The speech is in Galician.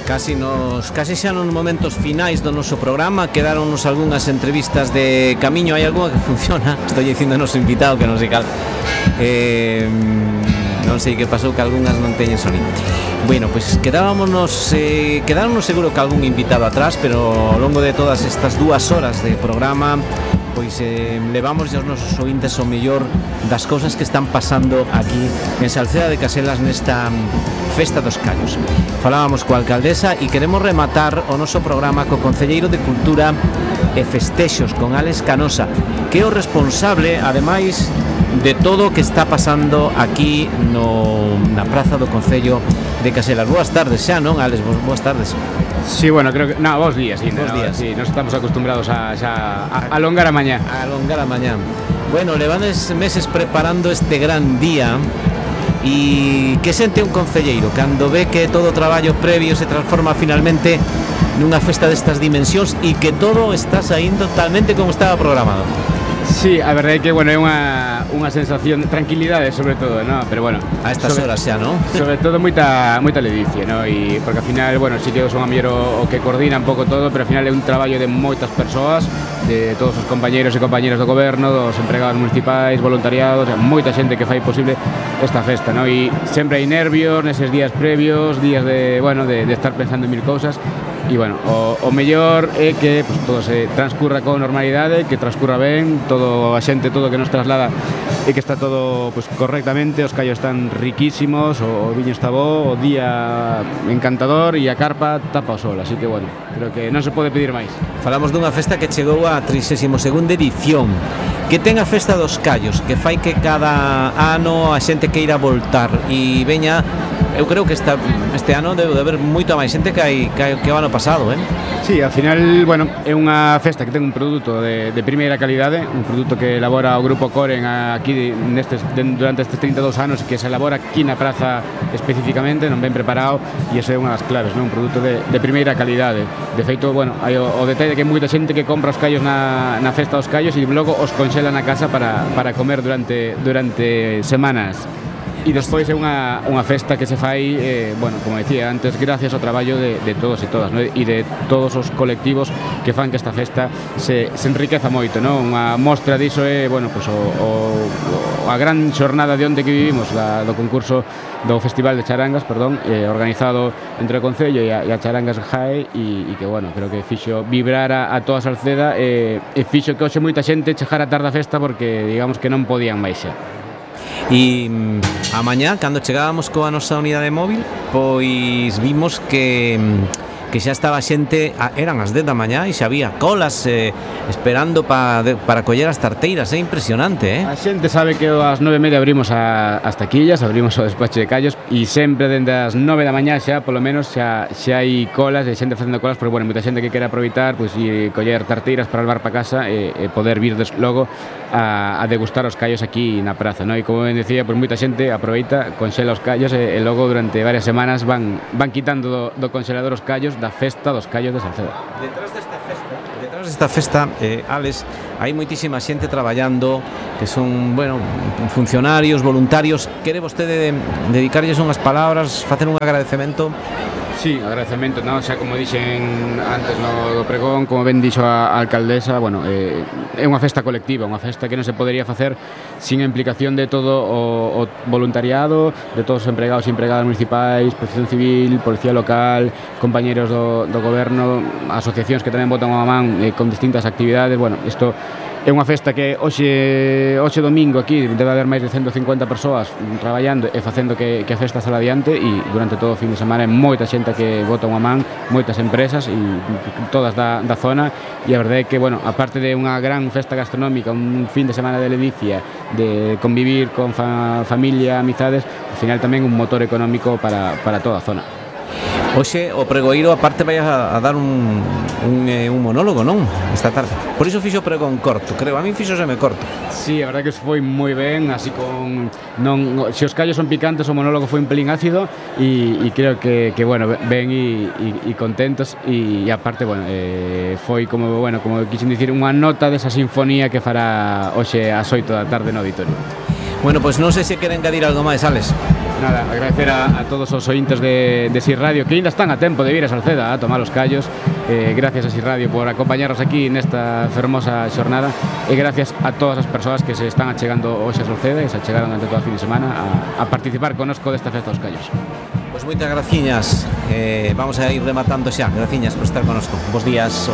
Casi xa nos momentos finais do noso programa. Quedáronnos algunhas entrevistas de camiño. Hai algunha que funciona. Estou dicindo ao noso invitado que non sei cal. Non sei que pasou, que algunhas non teñen sonido. Bueno, pois quedámonos seguro que algún invitado atrás, pero ao longo de todas estas 2 horas de programa pois levamos aos nosos ointes o mellor das cousas que están pasando aquí en Salceda de Caselas nesta Festa dos Callos. Falábamos coa alcaldesa e queremos rematar o noso programa co concelleiro de Cultura e Festexos, con Álex Canosa, que é o responsable, ademais, de todo o que está pasando aquí na praza do Concello de Caselas. Boas tardes xa, non, Álex? Boas tardes. Sí, bueno, creo que... No, bons días, sí. Bons días. Sí, nos estamos acostumbrados a alongar a mañá. A alongar a mañá. Bueno, levades meses preparando este gran día. E que sente un concelleiro cando ve que todo o traballo previo se transforma finalmente nunha festa destas dimensións e que todo está saindo totalmente como estaba programado? Sí, a verdade é que, bueno, é unha sensación de tranquilidade, sobre todo, ¿no? Pero, bueno... A estas horas xa, ¿no? Sobre todo moita ledicia, ¿no? E porque, ao final, bueno, si que son a mellor o que coordina un pouco todo, pero, ao final, é un traballo de moitas persoas, de todos os compañeiros e compañeras do goberno, dos empregados municipais, voluntariados, moita xente que fai posible esta festa, ¿no? E sempre hai nervios neses días previos, días de, bueno, de estar pensando en mil cousas. E, bueno, o mellor é que pues, todo se transcurra con normalidade, que transcurra ben, todo a xente, todo que nos traslada e que está todo pues, correctamente, os callos están riquísimos, o viño está bo, o día encantador e a carpa tapa o sol, así que, bueno, creo que non se pode pedir máis. Falamos dunha festa que chegou a 32ª edición, que ten a Festa dos Callos, que fai que cada ano a xente queira voltar e veña. Eu creo que este ano debe de haber moita máis xente que o ano pasado, eh? Sí, ao final, bueno, é unha festa que ten un produto de primeira calidade, un produto que elabora o Grupo Coren aquí durante estes 32 anos, que se elabora aquí na praza especificamente, non ben preparado, e iso é unha das claves, non? Un produto de primeira calidade. De feito, bueno, hai o detalle de que hai moita xente que compra os callos na Festa dos Callos e logo os conxela na casa para comer durante semanas. E despois é unha festa que se fai, bueno, como decía antes, gracias ao traballo de todos e todas, ¿no? E de todos os colectivos que fan que esta festa se enriqueza moito, ¿no? Unha mostra diso é, bueno, pues, a gran xornada de onde que vivimos do concurso do Festival de Charangas, organizado entre o Concello e a Charangas GAE e que, bueno, creo que fixo vibrar a toda a Salceda e fixo que hoxe moita xente chegara tarde a festa porque, digamos, que non podían máis xa. E a mañá, cando chegábamos coa nosa unidade móvil, pois vimos que xa estaba xente, eran as 10 da mañá e xa había colas esperando para coller as tarteiras, é impresionante, eh? A xente sabe que ás 9:30 abrimos as taquillas, abrimos o despacho de callos e sempre dende as 9 da mañá xa, polo menos, xa hai colas e xente facendo colas, pero, bueno, moita xente que quere aproveitar pois, e coller tarteiras para levar para casa e poder vir logo a degustar os callos aquí na praza, ¿no? E como ben decía, pois moita xente aproveita, conxela os callos e logo durante varias semanas van quitando do conxelador os callos da Festa dos Callos de Salceda. Detrás desta festa, Álex, hai moitísima xente traballando que son, bueno, funcionarios, voluntarios. Quere vostede dedicarlles unhas palabras, facer un agradecemento? Sí, agradecemento, ¿no? Xa como dixen antes no do pregón, como ben dixo a alcaldesa, bueno, é unha festa colectiva, unha festa que non se podería facer sin a implicación de todo o voluntariado, de todos os empregados e empregadas municipais, Protección Civil, Policía Local, compañeros do goberno, asociacións que tamén botan unha man con distintas actividades. Bueno, isto é unha festa que hoxe domingo aquí debe haber máis de 150 persoas traballando e facendo que a festa sala adiante, e durante todo o fin de semana é moita xente que bota unha man, moitas empresas e todas da zona, e a verdade é que, bueno, aparte de unha gran festa gastronómica, un fin de semana de ledicia, de convivir con familia, amizades, ao final tamén un motor económico para toda a zona. Hoxe o pregoeiro aparte vai a dar un monólogo, non? Esta tarde. Por iso fixo pregón corto, creo. A min fixoseme corto. Sí, a verdade que foi moi ben, así con se os callos son picantes, o monólogo foi un pelín ácido e creo que bueno, ben e contentos, e aparte, bueno, foi como quixen dicir, unha nota desa sinfonía que fará hoxe ás 8 da tarde no auditorio. Bueno, pois non sei se queren engadir algo máis, Álex. Nada, agradecer a todos os ointes de SIR Radio que ainda están a tempo de vir a Salceda a tomar os callos. Gracias a SIR Radio por acompañarnos aquí nesta fermosa xornada e gracias a todas as persoas que se están achegando hoxe a Salceda e se achegaron durante toda a fin de semana a participar connosco desta festa dos callos. Pois moitas graciñas, vamos a ir rematando xa. Graciñas por estar connosco. Bos días.